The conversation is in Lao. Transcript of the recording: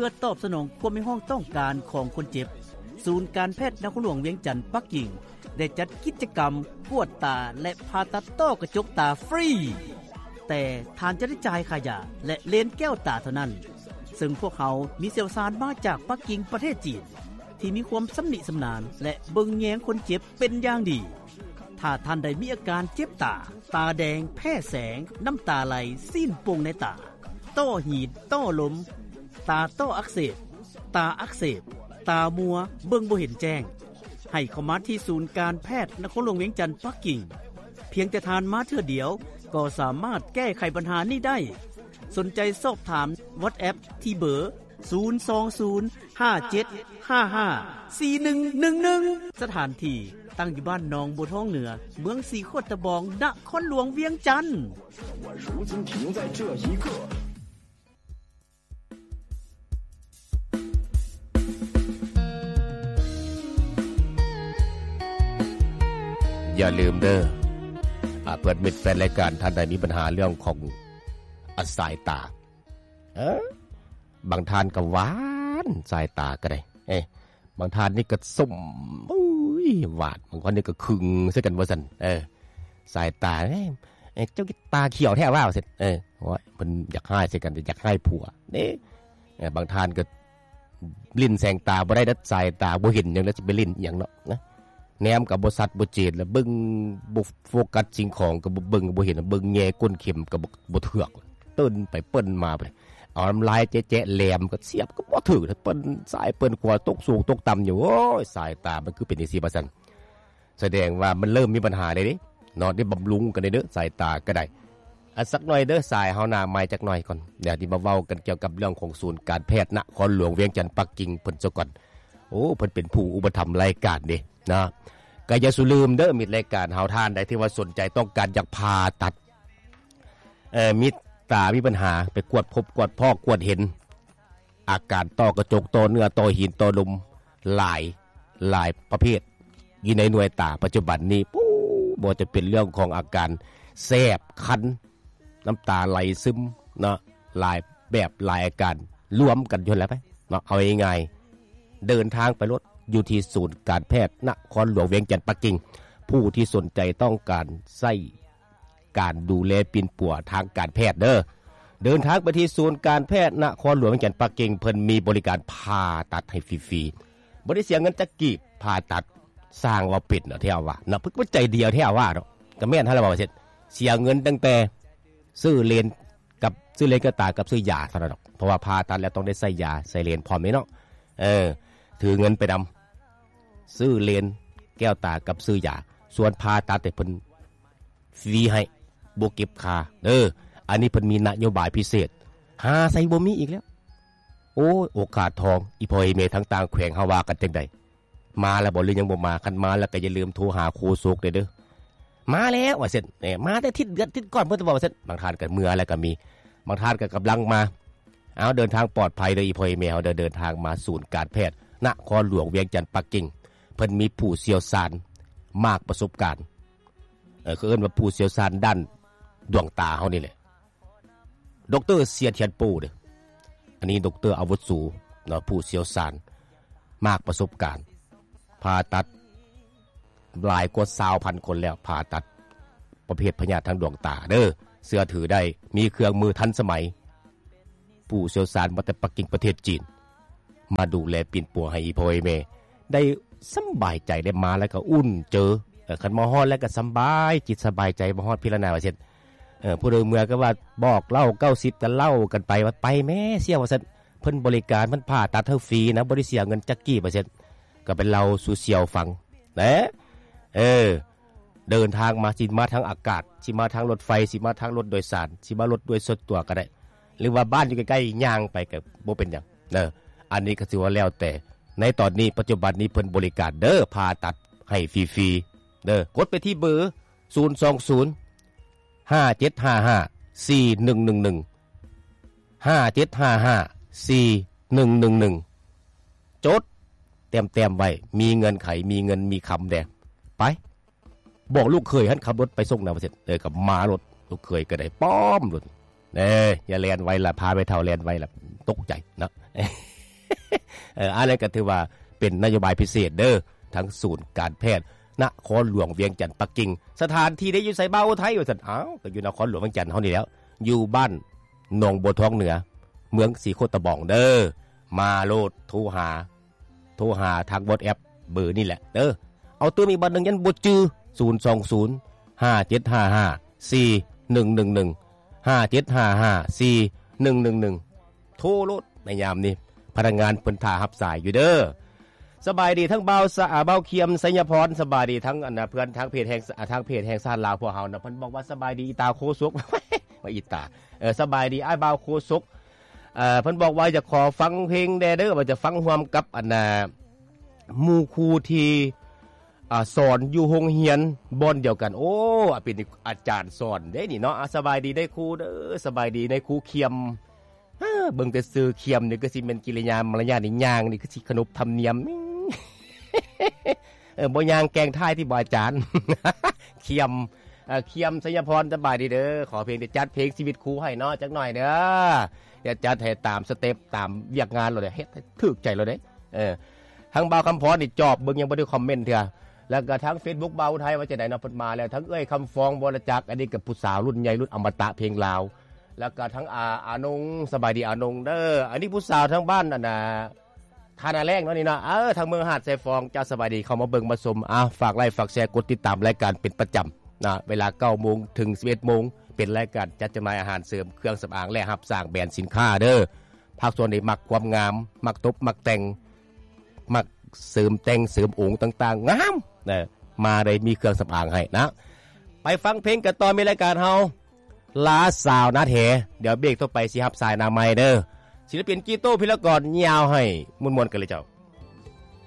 ພື່ອຕອບສະໜອງຄວາມຮຽກຮ້ອງຕ້ອງການຂອງຄົນເຈັບ, ສູນການແພດນະຄອນຫຼວງວຽງຈັນປັກກິ່ງ ໄດ້ຈັດກິດຈະກຳກວດຕາ ແລະ ຜ່າຕັດຕ້ອກະຈົກຕາຟຣີ ແຕ່ທ່ານຈະໄດ້ຈ່າຍຄ່າຢາ ແລະ ເລນແກ້ວຕາເທົ່ານັ້ນ, ເຊິ່ງພວກເຮົາມີຊ່ຽວຊານມາຈາກປັກກິ່ງປະເທດຈີນ ທີ່ມີຄວາມຊຳນິຊຳນານ ແລະ ເບິ່ງແຍງຄົນເຈັບເປັນຢ່າງດີ. ຖ້າທ່ານໃດມີອາການເຈັບຕາ, ຕາແດງ, ແພ້ແສງ, ນ້ຳຕາໄຫຼ, ຊີ້ນໂປ່ງໃນຕາ, ຕ້ອຫີນ, ຕ້ອລົມ, ຕາຕ້ອອັກເສບ, ຕາອັກເສບ, ຕາມົວ, ເບິ່ງບໍ່ເຫັນແຈ້ງ, ໃຫ້ເຂົ້າມາທີ່ສູນການແພດນະຄອນຫຼວງວຽງຈັນປັກກິ່ງ. ພຽງແຕ່ທ່ານມາເທື່ອດຽວ ກໍສາມາດແກ້ໄຂບັນຫານີ້ໄດ້. ສົນໃຈສອບຖາມ WhatsApp ທີ່ເບີ ສູນສອງສູນ ຫ້າເຈັດຫ້າຫ້າ ສີ່ໜຶ່ງໜຶ່ງໜຶ່ງ. ສະຖານທີ່ຕັ້ງຢູ່ບ້ານໜອງບົວທອງເໜືອ, ເມືອງສີໂຄດຕະບອງ, ນະຄອນຫຼວງວຽງຈັນ. ຢ່າລືມເດີ ອາ ເພື່ອນມິດແຟນລາຍການ ທ່ານໃດມີບັນຫາເລື່ອງຂອງ ອາ ສາຍຕາ ເອີ ບາງທ່ານກໍຫວານ ສາຍຕາກໍໄດ້ ເອີ ບາງທ່ານນີ້ກໍສົ້ມ ໂອ້ຍ ຫວານ ບາງຄົນນີ້ກໍຄຶງໃສ່ກັນວ່າຊັ້ນ ເອີ ສາຍຕາ ເອີ ເຈົ້າຕາຂຽວແທ້ວ່າ ວ່າຊັ້ນ ເອີ ໂອ້ຍ ເພິ່ນຢາກຮ້າຍໃສ່ກັນ ຢາກຮ້າຍຜົວເດ້ ເອີ ບາງທ່ານກໍຫຼິ້ນແສງຕາບໍ່ໄດ້ເດ້ ສາຍຕາບໍ່ເຫັນຫຍັງ ແລ້ວຊິໄປຫຼິ້ນອີ່ຫຍັງເນາະ ນະ ແນມກໍບໍ່ຊັດບໍ່ເຈນ ແລ້ວເບິ່ງບໍ່ໂຟກັດສິ່ງຂອງ ກໍບໍ່ເບິ່ງ ບໍ່ເຫັນ ເບິ່ງແຍກົ້ນເຂັມກໍບໍ່ ບໍ່ເຖືກ ເປີ້ນໄປເປີ້ນມາໄປ ເອົານ້ຳລາຍແຈະໆ ແຫຼມກໍສຽບກໍບໍ່ຖືກ ເປີ້ນຊ້າຍເປີ້ນຂວາ ຕົກສູງຕົກຕ່ຳຢູ່ ໂອ້ຍ ສາຍຕາມັນຄືເປັນຈັ່ງຊີ້ ວ່າຊັ້ນ ສະແດງວ່າມັນເລີ່ມມີບັນຫາແລ້ວເດ້ເນາະ ໄດ້ບຳລຸງກັນແດ່ເດີ ສາຍຕາກໍໄດ້ ອາ ສັກໜ້ອຍເດີ ສາຍເຮົາໜ້າໃໝ່ຈັກໜ້ອຍກ່ອນ ດຽວຊິມາເວົ້າກັນກ່ຽວກັບເລື່ອງຂອງສູນການແພດນະຄອນຫຼວງວຽງຈັນປັກກິ່ງເພິ່ນຊະກ່ອນ ໂອ້ ເພິ່ນເປັນຜູ້ອຸປະຖຳລາຍການເດ້ເນາະ ກໍຢ່າສູ່ລືມເດີ ມິດລາຍການເຮົາ ທ່ານໃດທີ່ວ່າສົນໃຈຕ້ອງການຢາກຜ່າຕັດ ເອີ ມີຕາມີບັນຫາ ໄປກວດພົບກວດພໍ້ກວດເຫັນ ອາການຕ້ອກະຈົກ ຕ້ອເນື້ອ ຕ້ອຫີນ ຕ້ອລົມ ຫຼາຍ ຫຼາຍປະເພດ ຢູ່ໃນໜ່ວຍຕາປັດຈຸບັນນີ້ ປູ້ ບໍ່ວ່າຈະເປັນເລື່ອງຂອງອາການແສບຄັນ ນ້ຳຕາໄຫຼຊຶມເນາະ ຫຼາຍແບບຫຼາຍອາການ ລວມກັນຢູ່ຫັ້ນແຫຼະໄປເນາະ ເອົາງ່າຍໆ ເດີນທາງໄປໂລດ ຢູ່ທີ່ສູນການແພດນະຄອນຫຼວງວຽງຈັນປັກກິ່ງ ຜູ້ທີ່ສົນໃຈຕ້ອງການໃຊ້ ການດູແລປິ່ນປົວທາງການແພດເດີ ເດີນທາງໄປທີ່ສູນການແພດນະຄອນຫຼວງວຽງຈັນປັກກິ່ງ ເພິ່ນມີບໍລິການຜ່າຕັດໃຫ້ຟຣີໆ ບໍ່ໄດ້ເສຍເງິນຈັກກີບ ຜ່າຕັດ ຊ່າງເວົ້າເປັນເນາະ ແທ້ວ່າເນາະ ເພິ່ນກໍໃຈດຽວແທ້ວ່າເນາະ ກໍແມ່ນຫັ້ນແຫຼະວ່າວ່າຊັ້ນ ເສຍເງິນຕັ້ງແຕ່ຊື້ເລນກັບ ຊື້ເລນແກ້ວຕາກັບຊື້ຢາເທົ່ານັ້ນດອກ ເພາະວ່າຜ່າຕັດແລ້ວຕ້ອງໄດ້ໃສ່ຢາ ໃສ່ເລນພ້ອມເດ້ເນາະ ເອີ ຖືເງິນໄປນຳ ຊື້ເລນແກ້ວຕາກັບຊື້ຢາ ສ່ວນຜ່າຕັດນີ້ເພິ່ນຟຣີໃຫ້ ບໍ່ເກັບຄ່າເດີ ອັນນີ້ເພິ່ນມີນະໂຍບາຍພິເສດ ຫາໃສບໍ່ມີອີກແລ້ວ ໂອ້ຍ ໂອກາດທອງ ອີ່ພໍ່ອີ່ແມ່ທັງຕ່າງແຂວງເຮົາວ່າກັນຈັ່ງໃດ ມາແລ້ວບໍ່ ຫຼືຍັງບໍ່ມາ ຄັນມາແລ້ວກໍຢ່າລືມໂທຫາໂຄສົກແດ່ເດີ ມາແລ້ວວ່າຊັ້ນ ເອີ ມາແຕ່ທິດເດືອນທິດກ່ອນ ເພິ່ນວ່າຊັ້ນ ບາງທ່ານກໍເມືອແລ້ວກໍມີ ບາງທ່ານກໍກຳລັງມາ ເອົາ ເດີນທາງປອດໄພເດີ ອີ່ພໍ່ອີ່ແມ່ເຮົາເດີ ເດີນທາງມາສູນການແພດນະຄອນຫຼວງວຽງຈັນປັກກິ່ງ ເພິ່ນມີຜູ້ຊ່ຽວຊານມາກປະສົບການ ເອີ ເຂົາເອີ້ນວ່າຜູ້ຊ່ຽວຊານດ້ານດວງຕາເຮົານີ້ແຫຼະ ດອກເຕີ ເຊຍ ທຽນໂປ້ ເດີ ອັນນີ້ດອກເຕີອາວຸໂສເນາະ ຜູ້ຊ່ຽວຊານມາກປະສົບການ ຜ່າຕັດ ຫຼາຍກວ່າຊາວພັນຄົນແລ້ວ ຜ່າຕັດປະເພດພະຍາດທາງດວງຕາເດີ ເຊື່ອຖືໄດ້ ມີເຄື່ອງມືທັນສະໄໝ ຜູ້ຊ່ຽວຊານມາແຕ່ປັກກິ່ງປະເທດຈີນ ມາດູແລປິ່ນປົວໃຫ້ອີ່ພໍ່ອີ່ແມ່ໄດ້ສຳບາຍໃຈ ໄດ້ມາແລ້ວກໍອຸ່ນເຈີ ເອີ ຄັນມາຮອດແລ້ວກໍສຳບາຍຈິດສະບາຍໃຈ ມາຮອດພີ້ລະນາວ່າຊັ້ນ ເອີ ຜູ້ໃດເມື່ອຍກໍວ່າບອກເລົ່າເກົ້າສິບ ກໍເລົ່າກັນໄປວ່າ ໄປແມ້ສ່ຽວວ່າຊັ້ນ ເພິ່ນບໍລິການ ເພິ່ນຜ່າຕັດໃຫ້ຟຣີນະ ບໍ່ໄດ້ເສຍເງິນຈັກກີບວ່າຊັ້ນ ກໍໄປເລົ່າສູ່ສ່ຽວຟັງນະ ເອີ ເດີນທາງມາ ຊິມາທາງອາກາດ ຊິມາທາງລົດໄຟ ຊິມາທາງລົດໂດຍສານ ຊິມາລົດໂດຍສ່ວນຕົວກໍໄດ້ ຫຼືວ່າບ້ານຢູ່ໃກ້ໆ ຍ່າງໄປກໍບໍ່ເປັນຫຍັງເດີ ອັນນີ້ກໍຖືວ່າແລ້ວແຕ່ ໃນຕອນນີ້ປັດຈຸບັນນີ້ເພິ່ນບໍລິການເດີ ຜ່າຕັດໃຫ້ຟຣີໆເດີ ກົດໄປທີ່ເບີ ສູນສອງສູນ ຫ້າເຈັດຫ້າຫ້າ ສີ່ໜຶ່ງໜຶ່ງໜຶ່ງ ຫ້າເຈັດຫ້າຫ້າ ສີ່ໜຶ່ງໜຶ່ງໜຶ່ງ ຈົດແຕ້ມໆໄວ້ ມີເງື່ອນໄຂ ມີເງິນມີຄຳແດ່ ໄປ ບອກລູກເຂີຍຫັ້ນຂັບລົດໄປສົ່ງນະວ່າຊັ້ນ ເອີ ກໍມາໂລດ ລູກເຂີຍກໍໄດ້ປ້ອມໂລດ ເອີ ຢ່າແລ່ນໄວລະ ພາແມ່ເຖົ້າແລ່ນໄວລະ ຕົກໃຈເນາະ ເອີ ອັນນັ້ນກໍຖືວ່າເປັນນະໂຍບາຍພິເສດເດີ້ ທາງສູນການແພດນະຄອນຫຼວງວຽງຈັນປັກກິ່ງ. ສະຖານທີ່ໄດ້ຢູ່ໃສ ບ່າວອຸໄທ ວ່າຊັ້ນ. ອ້າວ ກໍຢູ່ນະຄອນຫຼວງວຽງຈັນເຮົານີ້ແຫຼ້ວ ຢູ່ບ້ານໜອງບົວທອງເໜືອ ເມືອງສີໂຄດຕະບອງເດີ້. ມາໂລດ ໂທຫາ ໂທຫາທາງ WhatsApp ເບີນີ້ແຫຼະເດີ້. ເອົາຕື່ມອີກບັດໜຶ່ງ ຍັງບໍ່ຈື່ ສູນສອງສູນ ຫ້າເຈັດຫ້າຫ້າ ສີ່ໜຶ່ງໜຶ່ງໜຶ່ງ ຫ້າເຈັດຫ້າຫ້າ ສີ່ໜຶ່ງໜຶ່ງໜຶ່ງ ໂທໂລດໃນຍາມນີ້ ພະນັກງານເພິ່ນຖ້າຮັບສາຍຢູ່ເດີ້. ສະບາຍດີທັງບ່າວສະ ອາ ບ່າວຄຽມ ໄຊຍະພອນ. ສະບາຍດີທັງ ອັນນະ ເພື່ອນທາງເພຈແຫ່ງ ອາ ທາງເພຈແຫ່ງຊາດລາວພວກເຮົານະ. ເພິ່ນບອກວ່າ ສະບາຍດີອີຕາໂຄສົກ ວ່າອີຕາ ເອີ ສະບາຍດີອ້າຍບ່າວໂຄສົກ. ເອີ ເພິ່ນບອກວ່າຢາກຂໍຟັງເພງແດ່ເດີ້ ວ່າຈະຟັງຮ່ວມກັບ ອັນນະ ໝູ່ຄູທີ່ ອາ ສອນຢູ່ໂຮງຮຽນບ່ອນດຽວກັນ. ໂອ້ ເປັນອາຈານສອນເດ້ນີ້ເນາະ. ອາ ສະບາຍດີນາຍຄູເດີ້ ສະບາຍດີນາຍຄູຄຽມ. ເບິ່ງແຕ່ຊື່ຄຽມນີ້ ຄືຊິແມ່ນກິລິຍາມາລະຍາດນີ້ ຍ່າງນີ້ຄືຊິຂະໜົບທຳນຽມ ເອີ ບໍ່ຍ່າງແກງທ້າຍຕິ ບໍ່ອາຈານ ຄຽມ ເອີ ຄຽມ ໄຊຍະພອນ ສະບາຍດີເດີ້. ຂໍພຽງແຕ່ຈັດເພງຊີວິດຄູໃຫ້ເນາະ ຈັກໜ້ອຍເດີ້. ຈະຈັດໃຫ້ຕາມສະເຕັບ ຕາມວຽກງານໂລດເດ້ ເຮັດໃຫ້ຖືກໃຈໂລດເດ້. ເອີ ທາງບ່າວຄຳພອນນີ້ຈອບເບິ່ງ ຍັງບໍ່ໄດ້ຄອມເມັນເທື່ອ. ແລ້ວກໍທາງເຟສບຸກບ່າວໄທວ່າຈັ່ງໃດເນາະ ເພິ່ນມາແລ້ວ. ທາງເອື້ອຍຄຳຟອງ ວໍລະຈັກ ອັນນີ້ກໍຜູ້ສາວລຸ້ນໃຫຍ່ ລຸ້ນອະມະຕະເພງລາວ. ແລ້ວກໍທາງອາ ອານົງ ສະບາຍດີອານົງເດີ້. ອັນນີ້ຜູ້ສາວທາງບ້ານ ອັນນະ ທ່ານາແລ້ງເນາະນີ້ເນາະ ເອີ ທາງເມືອງຫາດຊາຍຟອງ. ເຈົ້າ ສະບາຍດີ ເຂົ້າມາເບິ່ງມາຊົມ. ອາ ຝາກໄລ ຝາກແຊ ກົດຕິດຕາມລາຍການເປັນປະຈຳນະ ເວລາເກົ້າໂມງເຖິງສິບເອັດໂມງ ເປັນລາຍການຈັດຈຳໜ່າຍອາຫານເສີມ, ເຄື່ອງສຳອາງ ແລະ ຮັບສ້າງແບຣນສິນຄ້າເດີ້. ພາກສ່ວນນີ້ມັກຄວາມງາມ, ມັກຕົບ, ມັກແຕ່ງ, ມັກເສີມແຕ່ງເສີມອົງຕ່າງໆ ງາມນະ ມາໄດ້ມີເຄື່ອງສຳອາງໃຫ້ນະ. ໄປຟັງເພງກັນຕໍ່ ມີລາຍການເຮົາ ລາວສາວນາແທ. ດຽວເບກຕໍ່ໄປຊິຮັບສາຍນາໃໝ່ເດີ້. ສິລະປິນກີໂຕ ພິລະກອນ ຍາວໃຫ້ມ່ວນໆກັນເລີຍເຈົ້າ.